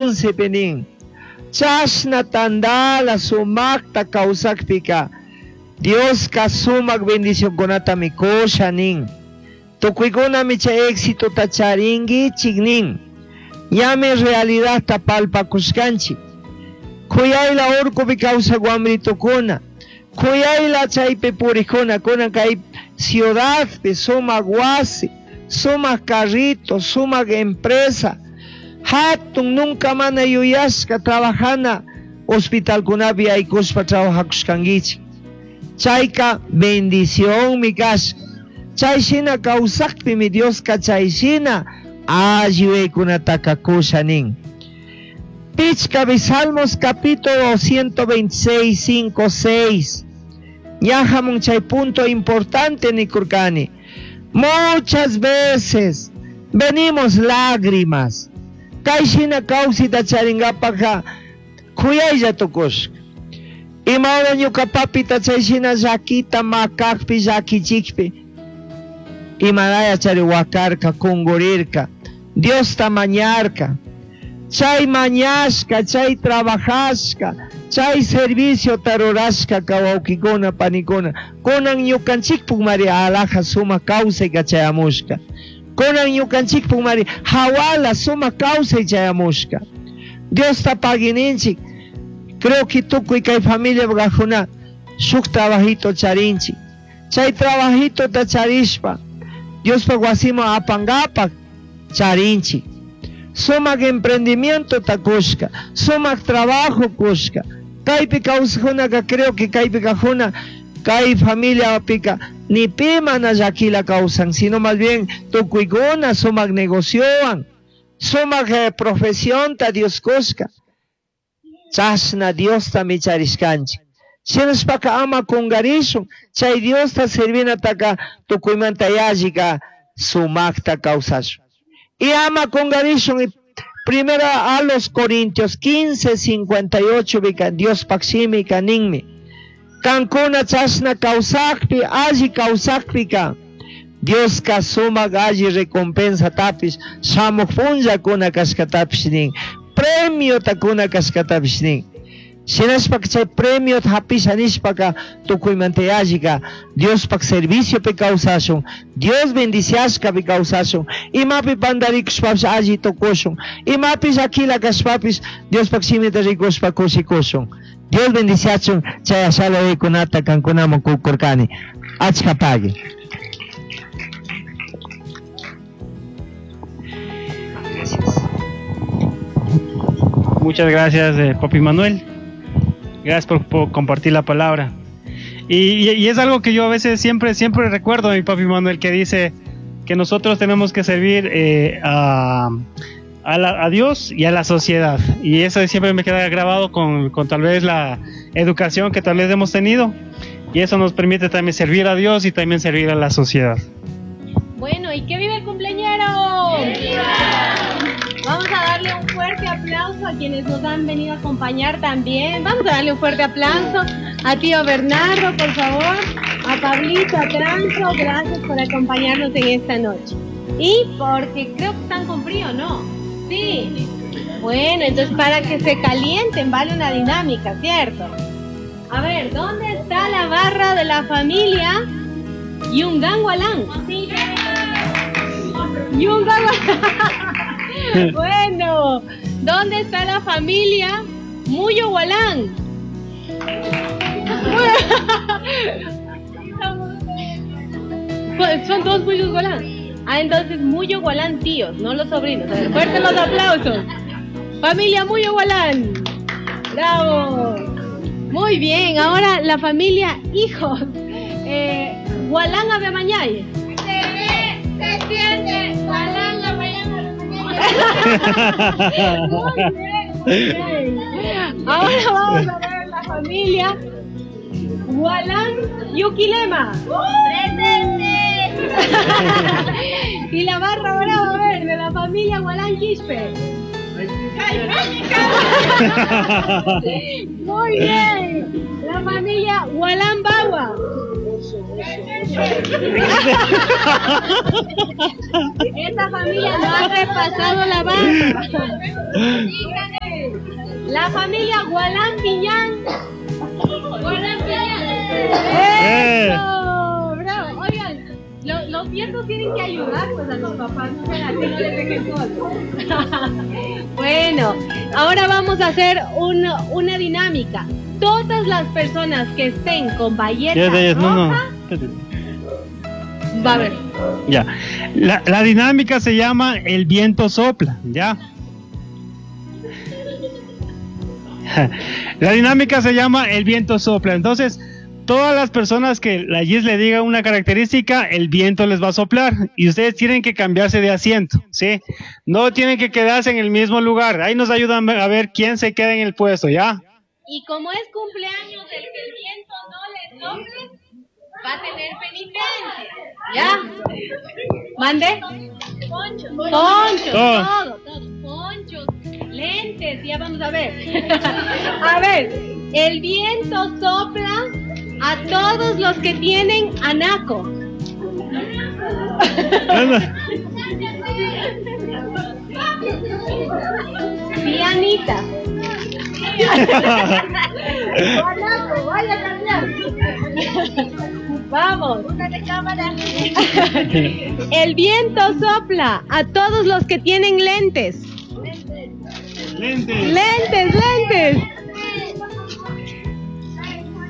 11 nin. Chashna tandala sumaqta kawsakpika Dioska sumaq bendicionkunatami kusha nin. Tukuykunami chay éxitota charinkichik nin. Ñami realidadta palpakushkanchik. Kuyayla urkupi kawsak wamritukuna, kuyayla chaypi purikuna, kunan kay ciudadpi sumaq wasi, sumaq carrito, sumaq empresa, hatun nunca mana yuyashka trabajana hospitalkunapi yaykushpa trabajakushkankichik. Chayka bendicionmi kashka. Chay shina kawsakpimi Dioska chay shina alli yuyaykunataka kusha nin. Pichkapi Salmos capítulo 126, 5, 6. Ña hamun chay punto importante nikurkani. Muchas veces venimos lágrimas. Kay shina kawsayta charingapakka kuyaylla tukushka. Imahora ñuka papita chay shina llakita makakpi llakichikpi imaraya chari wakarka kungurirka Diosta mañarka. Chay mañashka, chay trabajashka, chay serviciota rurashka wawkikuna panikuna kunan ñukanchikpuk mari alhaja sumak kawsay chayamushka. Kunan ñukanchikpuk mari hawala sumak kawsay chayamushka. Diosta paguininchik. Creo que tukuy kay familia kajuna shuk trabajito charinchik. Chay trabajitota charishpa Diospak wasiman apangapak charinchik. Sumak emprendimiento ta kushka, sumak trabajo kushka. Kaypi kawsajunaka creo que kaypi kajuna kay familiapika ni pi mana llakila kawsan, sino más bien tukuykuna sumak negociowan, sumak profesionta Dios kushka. Chashna Diosta micharishkanchik. Shinashpaka ama kungarishun, chay Diosta servinataka tukuymanta yallika sumakta kawsashun. Y ama kungarishun, y primera a los Corintios 15, 58, bika Diospak shimika ninmi. Kankuna chashna kawsakpi, alli kawsakpika, Dioska sumak alli recompensa tapish, shamuk punllakuna kashkatapish nin, premiota kuna kashkatapish nin. Shinashpaka chay premiota hapisha nishpaka tukuymanta yallika Diospak serviciopi kawsashun, Dios bendiciashkapi kawsashun, imapi pandarikushpapish alli tukushun, imapi llakila kashpapish Diospak shimita rikushpa kushikushun. Dios bendiciachun chay ashala yuyaykunata kankunaman kukurkani. Achka pagui. Gracias. Muchas gracias, Papi Manuel. Gracias por compartir la palabra. Y es algo que yo a veces siempre recuerdo a mi papi Manuel, que dice que nosotros tenemos que servir a Dios y a la sociedad. Y eso siempre me queda grabado con tal vez la educación que tal vez hemos tenido. Y eso nos permite también servir a Dios y también servir a la sociedad. Bueno, ¿y qué vive el cumpleañero? ¡Viva! Vamos a darle un fuerte aplauso a quienes nos han venido a acompañar también. Vamos a darle un fuerte aplauso a tío Bernardo, por favor, a Pablito, a Transo, gracias por acompañarnos en esta noche. Y porque creo que están con frío, ¿no? Sí. Bueno, entonces para que se calienten, vale una dinámica, ¿cierto? A ver, ¿dónde está la barra de la familia Yungan Gualán? Yungan Gualán. Bueno, ¿dónde está la familia Muyo Gualán? Son dos Muyos Gualán. Ah, entonces Muyo Gualán tíos, no los sobrinos. A ver, fuertes los aplausos. Familia Muyo Gualán. Bravo. Muy bien, ahora la familia hijos. Gualán Avemañay. Se ve, se siente, Gualán la mañana. Muy bien, muy bien. Ahora vamos a ver la familia Gualán Yuquilema. ¡Presente! Y la barra brava, a ver, de la familia Gualán Quispe. Muy bien. La familia Gualán Bagua. Esta familia no ha repasado la barba. La familia Gualán Piñán. Gualán Piñán. ¡Eso! ¡Bravo! Oigan, los nietos tienen que ayudar pues, a los papás, no sean así, no les dejen solos. Bueno, ahora vamos a hacer una dinámica. Todas las personas que estén con bayeta roja, No, no. Va a ver. Ya. La dinámica se llama el viento sopla, ¿ya? La dinámica se llama el viento sopla. Entonces, todas las personas que la Gis le diga una característica, el viento les va a soplar y ustedes tienen que cambiarse de asiento, ¿sí? No tienen que quedarse en el mismo lugar. Ahí nos ayudan a ver quién se queda en el puesto, ¿ya? Y como es cumpleaños del que el viento no le sople, va a tener penitencia, ¿ya? ¿Mande? Ponchos. Ponchos, todo, todo. Ponchos, lentes, ya vamos a ver. A ver, el viento sopla a todos los que tienen anaco. Dianita. Anaco, vaya a cambiar. Vamos. El viento sopla a todos los que tienen lentes. Lentes. Lentes, lentes.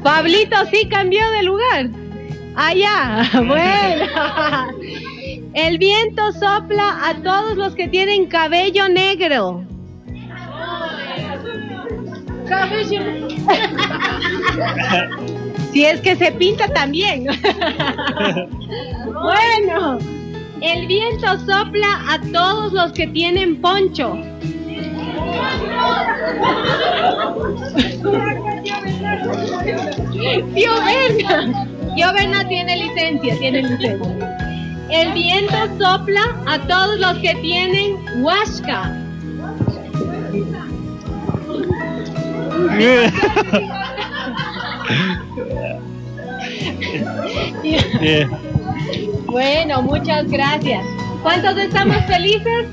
Pablito sí cambió de lugar. Allá. Bueno. El viento sopla a todos los que tienen cabello negro. Cabello. Si es que se pinta también. Bueno, el viento sopla a todos los que tienen poncho. Tío Berna. Tío Berna tiene licencia, tiene licencia. El viento sopla a todos los que tienen huasca. Yeah. Bueno, muchas gracias. ¿Cuántos estamos felices?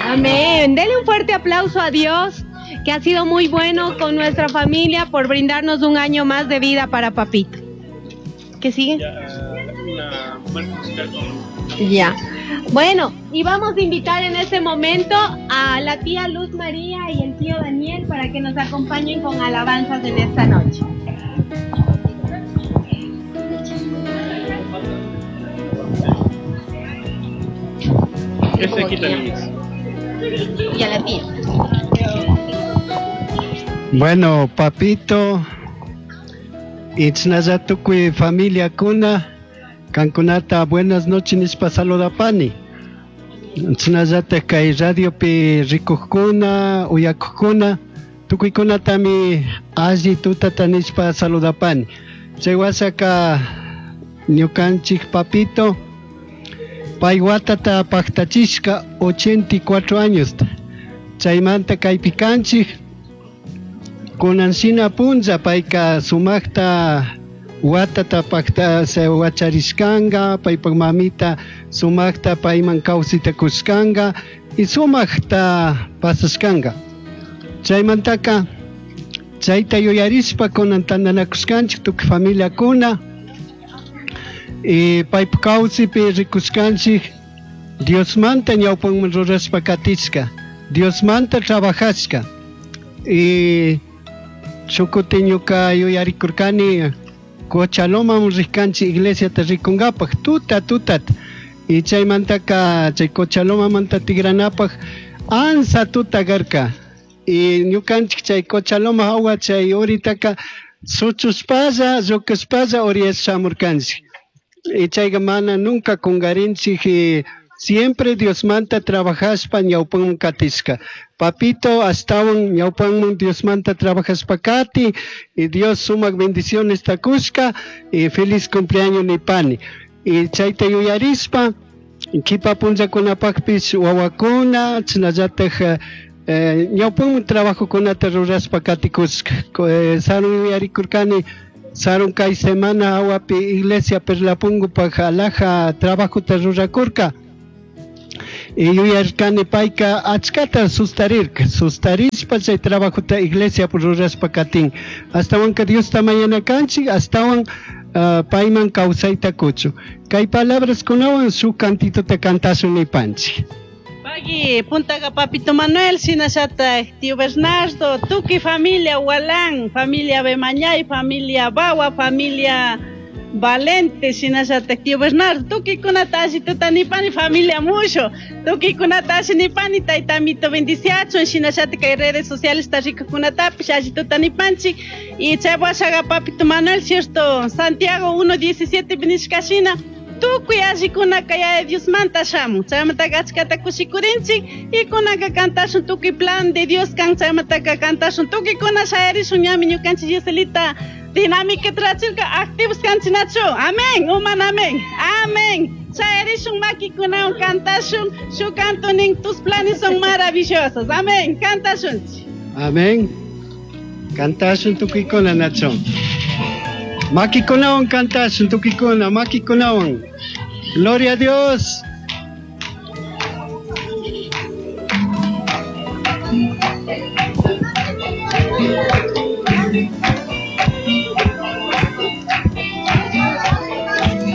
Amén. Denle un fuerte aplauso a Dios, que ha sido muy bueno con nuestra familia por brindarnos un año más de vida para papito. ¿Qué sigue? Ya. Bueno, y vamos a invitar en este momento a la tía Luz María y el tío Daniel para que nos acompañen con alabanzas en esta noche. Este aquí también. Y a la tía. Bueno, papito, Itznayatukuy familia kuna, kankunata buenas noches nishpa saludapani. Itznayata kay radiopi rikujkuna, uyakujkuna, tukuykunatami alli tutata nishpa saludapani. Chay wasaka ñukanchik papito, pay watata pactachishka 84 años. Chaymanta kaypi kanchik, kunan shina punlla payka sumakta watata pacta se wacharishkanga, paypak mamita sumakta payman kawsita kushkanga y sumakta pasashkanga. Chaymantaka chayta yuyarishpa kunan tantanakushkanchik tukuy familiakuna y paypak kawsipi rikushkanchik Diosmanta ñawpanman rurashpa katishka, Diosmanta trabajashka. Y shukuti ñuka yuyarikurkani Cochaloman rishkanchik iglesiata rikunkapak tuta tutat. Y chaymantaka chay Cochalomamanta tigranapaj ansa tuta karka. Y ñukanchik chay Cochaloma hawa chay uritaka suchushpalla llukushpalla uriyash shamurkanchik. Y chayka mana nunca kungarinchik y siempre Diosmanta trabajashpa ñawpanman katishka. Papito ashtawan ñawpanman Diosmanta trabajashpa kati y Dios sumak bendiciones takushka y feliz cumpleaños nipani. Y chayta yuyarishpa kipa punllakunapakpish wawakuna chinallataj ñawpanman trabajokunata rurashpa katikushka. Sarun yuyarikurkani Sarun kay semana awapi iglesia Perlapungupaj alaja trabajota rurakurka. Y yuyarkani payka achkata sustarirka, sustarishpa chay trabajota iglesia rurashpa katin. Astawanka Diosta mañana kanchik, astawan payman kawsayta kuchu. Kay palabraskunawan shuk cantitota cantashun nipanchik. Pagui, Puntaga Papito Manuel, Sinachata, Tío Bernardo, Tuki familia Hualán, familia Bemañay, familia Bawa, familia Valente, Sinachata, Tío Bernardo, Tuki kunatashi, tutanipani, familia Musho, Tuki kunatashi, nipani, taitamito bendiciacho, Sinachata, que redes sociales, está rico kunatapi, shashi tutanipanchi, y Chabuashaga Papito Manuel, cierto, Santiago 1.17, Benishkashina, tukuy allikunaka yaya Diosmanta shamun chaymantaka achkata kushikurinchik y kunanka kantashun tukuy plan de Dios kan chaymantaka kantashun tukuykuna shayarishun ñami ñukanchik Giselita dinámica trachirka activos kanchinachu amén uman amén amén shayarishun makikunawan kantashun shuk canto nin tus planes son maravillosos amén kantashunchik Amén. Kantashun tukuykuna nacho. Makikunawan kantashun tukuykuna makikunawan. Gloria a Dios.